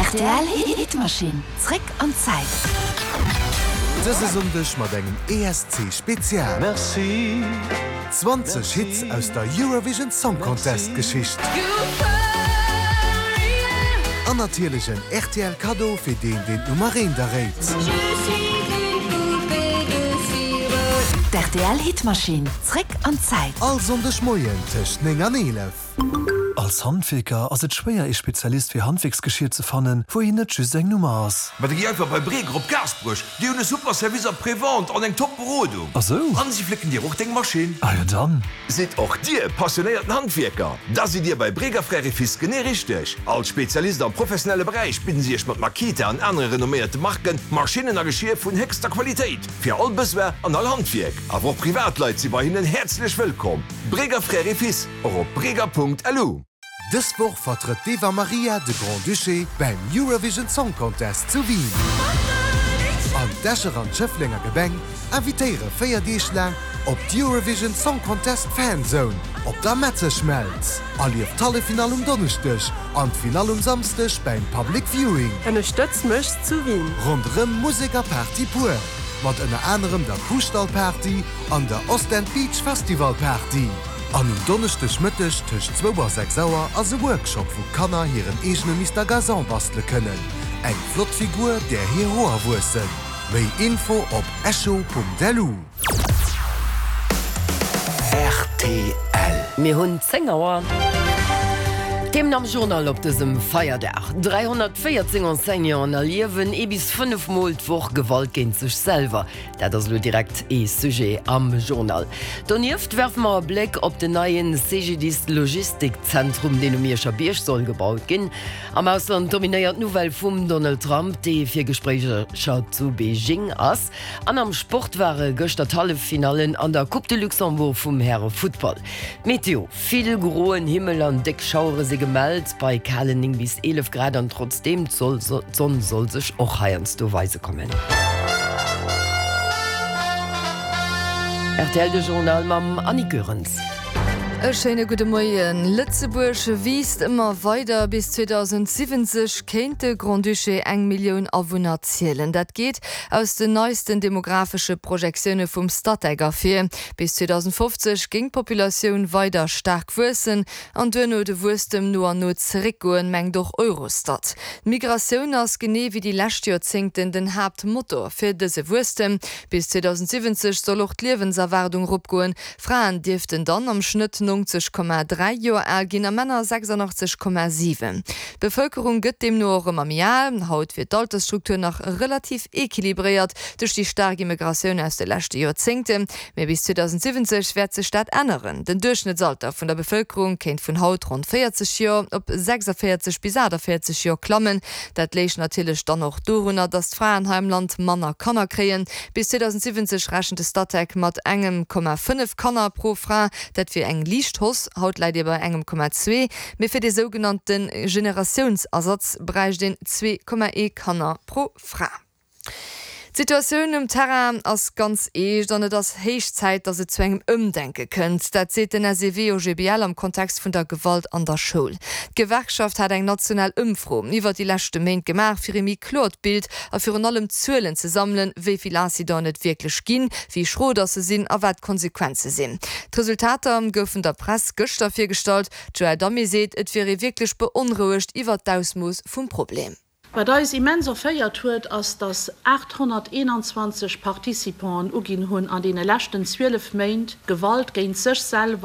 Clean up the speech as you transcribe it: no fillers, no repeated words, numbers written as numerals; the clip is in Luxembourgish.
Rtl Hitmaschinn, zréck an d'Zäit. Dëse Sonndeg mat engem ESC Spezial. 20 Hits aus der Eurovision Song Contest Geschicht. An natierlech en rtl Kaddo fir deen deen d'Nummer eent erréit. D'RTL Hitmaschinn, zréck an d'Zäit. All Sonndeg Moien tëscht 9 an 11. Als Handwierker ass et schwéier ee Spezialist fir Handwierksgeschier ze fannen, wou een net just eng Nummer ass. Ma da gi einfach bei Breger op Gaasperech, déi hunn e super Service après-vente an eng top Berodung. Ah sou? An si flécken dir och deng Maschinn. Ah jo dann. Sidd och dir passionéierten Handwierker? Da sidd dir bei Breger Frères et Fils genee richteg. Als Spezialist am professionelle Beräich bidden si iech mat Makita an anere renomméierte Marken Maschinnen a Geschier vun héchster Qualitéit fir all Besoin an all Handwierk. Awer och Privatleit si bei hinnen häerzlech wëllkomm. Breger Frères et Fils, och op breger.lu. Dës Woch vertrëtt d'Eva Marija de Grand-Duché beim Eurovision Song Contest zu Wien. An d'Escher an d'Schëfflenger Gemeng invitéiere 4 Deeg laang op d'Eurovision Song Contest Fan Zone op der Metzeschmelz. Erlieft d'Halleffinall um Donneschdeg an d'Finall um Samsdeg beim Public Viewing. Ënnerstëtz mech zu Wien! Ronderëm Musek a Party pur, mat ënner anerem der Kuhstall-Party an der Ostend Beach Festival Party. An um Donneschdeg Mëtteg tëscht zwou a 6 Auer ass e Workshop wou Kanner hiren eegene Mister Gazon bastele kënnen. Eng flott Figur där hir Hoer wuessen. Méi Info op echo.lu. Rtl. Mir hunn 10 Auer. D'Themen am Journal op dësem Feierdag, 314 Enseignanten erliewen ee bis 5 Mol d'Woch Gewalt géint sech selwer. Dat ass elo direkt ee Sujet am Journal. Donieft werfe mer e Bléck op den neien CGDIS Logistikzentrum, deen um Mierscher Bierg soll gebaut ginn. Am Ausland dominéiert d'Nouvelle vum Donald Trump, dee fir Gespréicher zu Beijing ass. An am Sport ware gëschter d'Halleffinallen an der Coupe de Luxembourg vum Härefuttball. D'Meteo. Vill groen Himmel an déck Schauere si gemellt, bei kalen 9 bis 11 Grad an trotzdeem, d'Sonn soll sech och heiansdo weise kommen. Rtl De Journal mam Annick Goerens. E schéine gudde Moien. Lëtzebuerg wiisst ëmmer weider. Bis 2070 kéint de Grand-Duché eng Millioun Awunner zielen. Dat geet aus den neisten demografesche Projektioune vum Statec ervir. Bis 2050 géing d'Populatioun weider staark wuessen an duerno de Wuesstem no an no zeréckgoen, mengt och Eurostat. D'Migratioun ass genee wéi déi lescht Joerzéngten den Haaptmotor fir dëse Wuesstem. Bis 2070 soll och d'Liewenserwaardung eropgoen. Fraen dierften dann am Schnëtt 90,3 Joer al ginn a Männer 86,7. D'Bevëlkerung gëtt deemno och ëmmer méi al. Haut wier d'Altersstruktur nach relativ equilibréiert duerch déi staark Immigratioun aus de leschte Joerzéngte, mee bis 2070 wäert sech dat änneren. Den Duerchschnëttsalter vun der Bevëlkerung kéint vun haut ronn 40 Joer op 46 bis 48 Joer klammen. Dat léich natierlech dann och dorunner, datt d'Fraen hei am Land manner Kanner kréien. Bis 2070 rechent de Statec mat engem Komma 5 Kanner pro Fra. Dat wier eng liicht Hausse, haut läit ee bei engem Komma zwee. Mee fir dee sougenannte Generatiounsersatz bräicht een 2,1 Kanner pro Fra. D'Situatioun um Terrain ass ganz eescht an et ass héich Zäit, datt et zu engem Ëmdenke kënnt. Dat seet den SEW-OGBL am Kontext vun der Gewalt an der Schoul. D'Gewerkschaft hat eng national Ëmfro iwwer déi leschte Méint gemaach, fir ee méi kloert Bild a virun allem Zuelen ze sammelen, wéi vill Incidenten et wierklech ginn, wéi schro datt se sinn a wat d'Konsequenze sinn. D'Resultater goufen der Press gëschter virgestallt. D'Joëlle Damé seet, et wier ee wierklech beonrouegt iwwer d'Ausmooss vum Problem. Wat eis immens erféiert huet, ass, dass 821 Participanten uginn hunn, an deene leschten 12 Méint Gewalt géint sech selwer.